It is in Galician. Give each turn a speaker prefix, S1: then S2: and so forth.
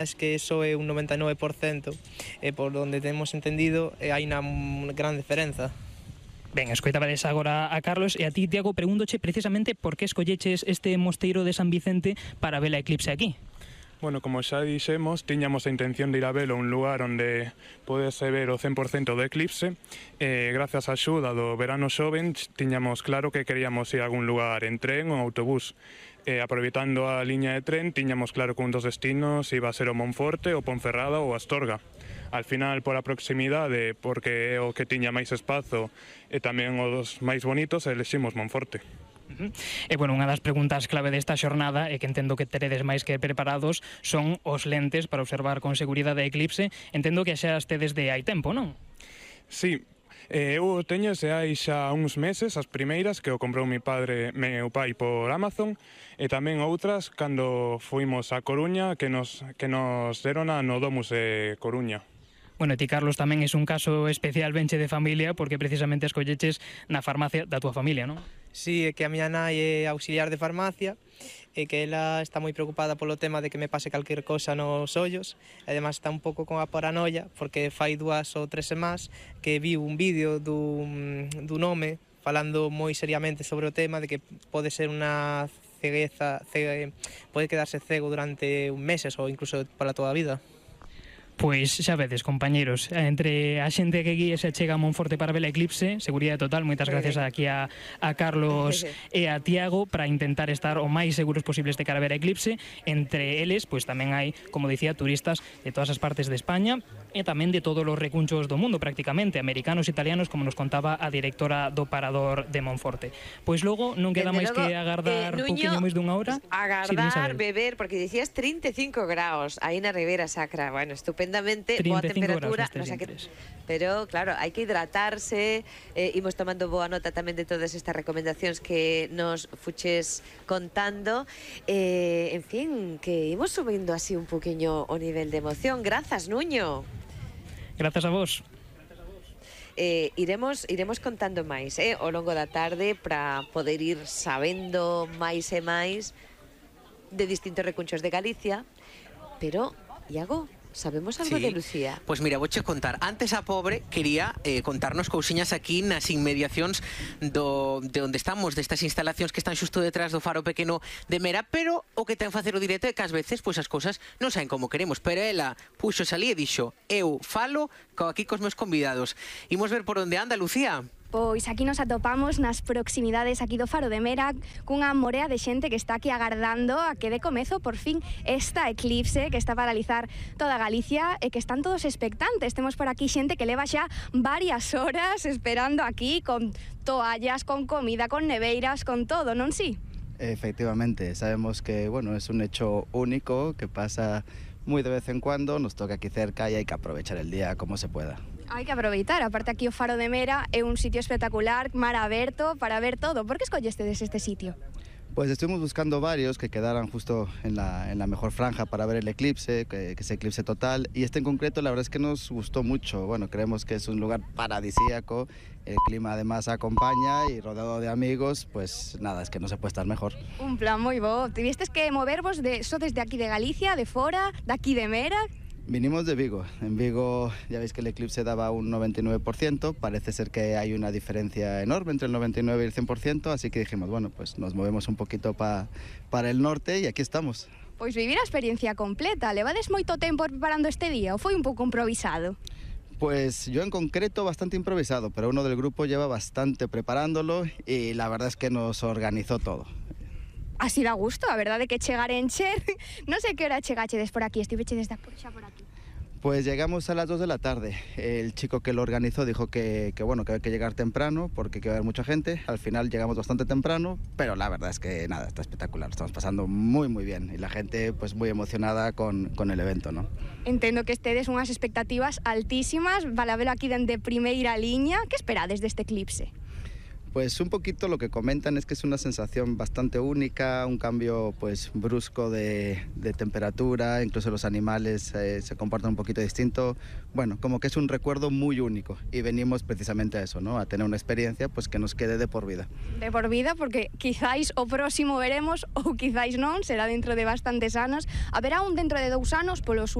S1: Es que eso é un 99%, e por donde temos entendido hai unha gran diferenza.
S2: Ben, escoitabades agora a Carlos e a ti, Tiago, pregúndoche precisamente por que escolleches este mosteiro de San Vicente para ver a eclipse aquí.
S3: Bueno, como xa dixemos, tiñamos a intención de ir a velo a un lugar onde podese ver o 100% do eclipse e grazas á axuda do verano xoven tiñamos claro que queríamos ir a algún lugar en tren ou autobús. Aproveitando a liña de tren, tiñamos claro que un dos destinos iba a ser o Monforte, o Ponferrada ou Astorga. Al final, por a proximidade, porque é o que tiña máis espazo e tamén os máis bonitos, eleximos Monforte.
S2: E, bueno, unha das preguntas clave desta xornada, e que entendo que teredes máis que preparados, son os lentes para observar con seguridade a eclipse. Entendo que xa estedes de hai tempo, non?
S3: Sí, eu teño se hai xa uns meses as primeiras que o comprou meu pai por Amazon, e tamén outras cando fuimos a Coruña que nos deron no Domus de Coruña.
S2: Bueno, ti, Carlos, tamén é un caso especial, benche de familia, porque precisamente escolleches na farmacia da túa familia, non?
S1: Sí, é que a miña nai é auxiliar de farmacia e que ela está moi preocupada polo tema de que me pase calquer cosa nos ollos, e además está un pouco con a paranoia porque fai 2 ou 3 semanas que viu un vídeo dun home falando moi seriamente sobre o tema de que pode ser unha cegueza, pode quedarse cego durante meses ou incluso pola toda a vida.
S2: Pois xa vedes, compañeros, entre a xente que guíe se chega a Monforte para ver a eclipse, seguridade total, moitas gracias aquí a Carlos e a Tiago para intentar estar o máis seguros posibles de cara a ver a eclipse. Entre eles, pois tamén hai, como dicía, turistas de todas as partes de España e tamén de todos os recunchos do mundo, prácticamente, americanos e italianos, como nos contaba a directora do Parador de Monforte. Pois logo non queda máis que agardar pouquiño máis dunha hora.
S4: Agardar, beber, porque dicías 35 graus aí na Ribeira Sacra. Bueno, estupendo. Boa temperatura, pero claro, hai que hidratarse, imos tomando boa nota tamén de todas estas recomendacións que nos fuches contando, en fin, que imos subindo así un poquinho o nivel de emoción. Grazas, Nuño.
S2: Grazas a vos.
S4: Iremos contando máis ao longo da tarde para poder ir sabendo máis e máis de distintos recunchos de Galicia, pero, Iago, sabemos algo de Lucía?
S5: Pois mira, vouche contar. Antes a pobre quería contarnos cousiñas aquí nas inmediacións de onde estamos, destas instalacións que están xusto detrás do faro pequeno de Mera, pero o que ten facer o directo é que ás veces pois as cousas non saen como queremos, pero ela puxo salí e dixo: eu falo aquí cos meus convidados. Imos ver por onde anda, Lucía.
S6: Pois aquí nos atopamos nas proximidades aquí do Faro de Mera cunha morea de xente que está aquí agardando a que dé comezo por fin esta eclipse que está a paralizar toda Galicia e que están todos expectantes. Temos por aquí xente que leva xa varias horas esperando aquí con toallas, con comida, con neveiras, con todo, non si?
S7: Efectivamente, sabemos que, bueno, es un hecho único que pasa muy de vez en cuando, nos toca aquí cerca y hay que aprovechar el día como se pueda.
S6: Hai que aproveitar, aparte aquí o Faro de Mera é un sitio espectacular, mar aberto, para ver todo. Por que escollestes este sitio?
S7: Pues estuvimos buscando varios que quedaran justo en la mejor franja para ver el eclipse, que es eclipse total, y este en concreto la verdad es que nos gustó mucho. Bueno, creemos que es un lugar paradisíaco, el clima además acompaña y rodeado de amigos, pues nada, es que no se puede estar mejor.
S6: Un plan moi bo. Tivistes que movervos desde aquí de Galicia, de fora, de aquí de Mera?
S7: Vinimos de Vigo. En Vigo ya veis que el eclipse daba un 99%, parece ser que hay una diferencia enorme entre el 99 y el 100%, así que dijimos, bueno, pues nos movemos un poquito para el norte y aquí estamos.
S6: Pois vivir a experiencia completa. Levades moito tempo preparando este día ou foi un pouco improvisado?
S7: Pues yo en concreto bastante improvisado, pero uno del grupo lleva bastante preparándolo y la verdad es que nos organizó todo.
S6: Así da gusto, a verdade que chegar en Encher. Non sei que hora chegachedes por aquí, estivechedes xa por aquí.
S7: Pues llegamos a las 2 de la tarde. El chico que lo organizó dijo que bueno, que hay que llegar temprano porque que va a haber mucha gente. Al final llegamos bastante temprano, pero la verdad es que nada, está espectacular. Estamos pasando muy bien y la gente pues muy emocionada con el evento, ¿no?
S6: Entendo que estedes unhas expectativas altísimas, para velo aquí dende primeira liña. Que esperades deste eclipse?
S7: Pues un poquito lo que comentan es que es una sensación bastante única, un cambio pues brusco de temperatura, incluso los animales se comportan un poquito distinto. Bueno, como que es un recuerdo muy único y venimos precisamente a eso, ¿no? A tener una experiencia pues que nos quede de por vida.
S6: De por vida, porque quizáis o próximo veremos ou quizáis non, será dentro de bastantes anos. Haberá un dentro de 2 anos polo sur